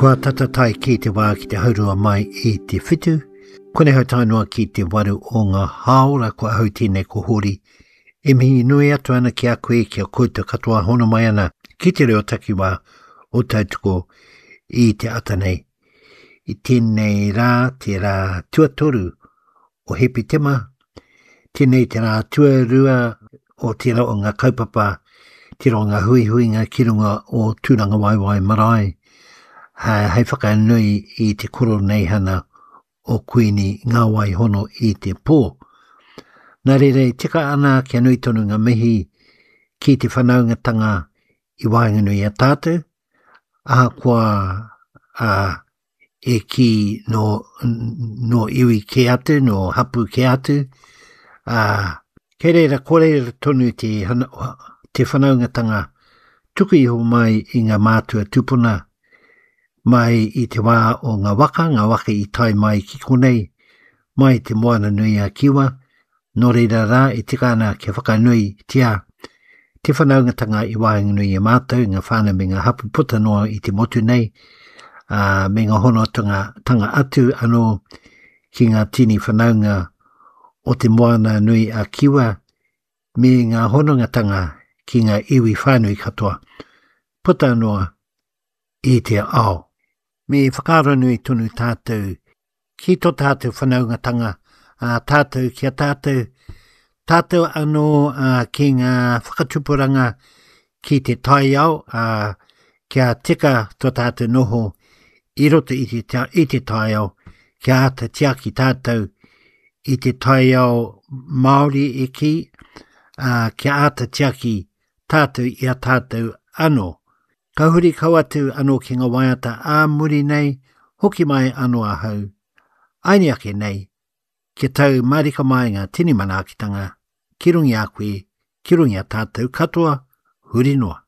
Kua tata tae ki te wā ki te haurua mai i te whitu. Konei hau tae noa ki te waru o ngā hāora ko ahau tēnei ko Hori. E mihi nui atu ana ki a koe, ki a koutou katoa hono mai ana ki te reo takiwā o Tautoko i te ata nei. I tēnei rā, te rā tuatoru o Hepetema, tēnei te rā tuarua o tērā o ngā kaupapa, tērā o ngā huihuinga ki runga o Tūrangawaewae Marae, hei whakanui i te koroneihana o Kuini Ngā Wai Hono i te Pō. Nā reira e tika ana kia nui tonu ngā mihi ki te whanaungatanga i waenganui i a tātou, ahakoa a, e kī nō, nō iwi kē atu, nō hapū kē atu, ā, kei reira, ko reira tonu te, te whanaungatanga tuku iho mai i ngā mātua tūpuna, mai i te wā o ngā waka, ngā waka i tae mai ki konei, mai te Moana nui a Kiwa, Nō reira rā e tika ana kia whakanuitia te whanaungatanga i waenganui i a mātou, ngā whānau me ngā hapū puta noa i te motu nei, ā, me ngā honotanga tanga atu anō ki ngā tini whanaunga o te Moana nui a Kiwa me ngā honongatanga ki ngā iwi whānui katoa puta noa i te ao. Me whakaaronui tonu tātou ki tō tātou whanaungatanga, ā, tātou ki a tātou, tātou anō ā, ki ngā whakatupuranga ki te taiao, ā, kia tika tō tātou noho i roto i te, i te taiao, kia āta tiaki tātou i te taiao Māori e kī, ā, kia āta tiaki tātou i a tātou anō. Ka huri kau atu anō ki ngā waiata ā muri nei, hoki mai anō ahau, aini ake nei, kia tau mārika mai ngā tini manaakitanga ki runga i a koe, ki runga i a tātou katoa, huri noa.